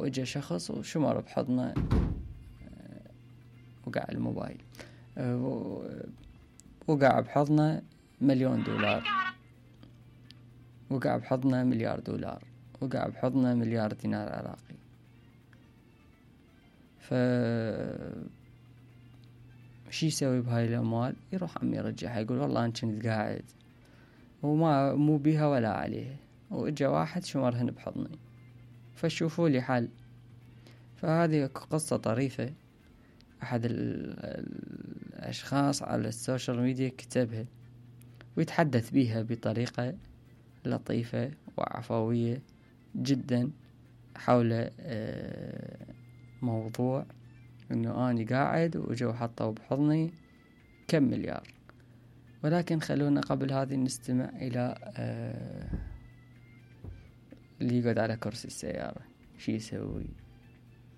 واجا شخص وشمر بحضنه وقع الموبايل، وقع بحضنه $1,000,000، وقع بحضنه $1,000,000، وقع بحضنه $1,000,000 عراقي. شي يسوي بهاي الأموال؟ يروح عم يرجعها، يقول والله أنا كنت قاعد مو بيها ولا عليها، وإجا واحد شمرهن بحضني، فشوفوا لي حل. فهذه قصة طريفة أحد الأشخاص على السوشيال ميديا كتبها، ويتحدث بيها بطريقة لطيفة وعفوية جدا حول موضوع انه اني قاعد وجو حطوا بحضني كم مليار. ولكن خلونا قبل هذه نستمع الى اللي يقعد على كرسي السيارة شي يسوي.